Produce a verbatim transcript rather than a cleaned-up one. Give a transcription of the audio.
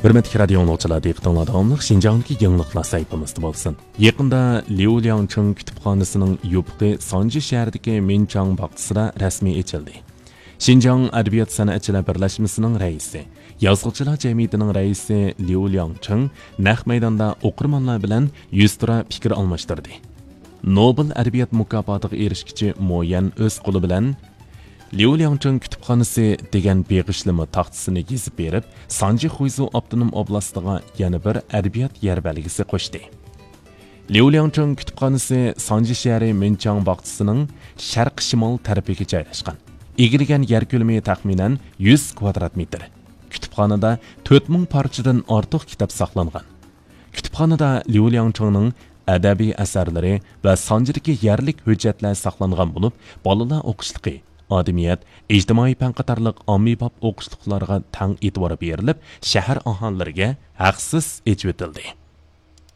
ھۆرمەتلىك رادىيو ئاڭلىغۇچىلار، دىققىتىڭلاردا داۋاملىق شىنجاڭدىكى يېڭىلىقلار سەھىپىمىزدە بولسۇن. يېقىندا ليۇ لياڭچىڭ كۇتۇپخانىسىنىڭ يوپۇقى سانجى شەھىرىدىكى مىنچاڭ باغچىسىدا رەسمىي ئېچىلدى. شىنجاڭ ئەدەبىيات سەنئەتچىلەر بىرلەشمىسىنىڭ رەئىسى، يازغۇچىلار جەمئىيىتىنىڭ رەئىسى ليۇ لياڭچىڭ نەق مەيداندا ئوقۇرمانلار بىلەن يۈزتۇرا پىكىر ئالماشتۇردى. نوبېل ئەدەبىيات مۇكاپاتىغا ئېرىشكۈچى مو يەن ئۆز قولى بىلەن ليۇ لياڭچىڭ كۇتۇپخانىسى دېگەن بېغىشلىما تاختىسىنى يېزىپ بېرىپ، سانجى خۇيزۇ ئاپتونوم ئوبلاستىغا يەنە بىر ئەدەبىيات يەر بەلگىسى قوشتى. ليۇ لياڭچىڭ كۇتۇپخانىسى سانجى شەھىرى مىنچاڭ باغچىسىنىڭ شەرقىي شىمال تەرىپىگە جايلاشقان. ئىگىلىگەن يەر كۆلىمى تەخمىنەن يۈز كۋادرات مېتىر. كۇتۇپخانىدا تۆت مىڭ پارچىدىن ئارتۇق كىتاب ساقلانغان. كۇتۇپخانىدا ليۇ لياڭچىڭنىڭ ئەدەبىي ئەسەرلىرى ۋە سانجىدىكى يەرلىك ھۆججەتلەر ساقلانغان بولۇپ، بالىلار ئوقۇشلۇقى، ئادەمىيەت، ئىجتىمائىي پەن قاتارلىق ئاممىباب ئوقۇشلۇقلارغا تەڭ ئېتىبار بېرىلىپ، شەھەر ئاھالىلىرىگە ھەقسىز ئېچىۋېتىلدى.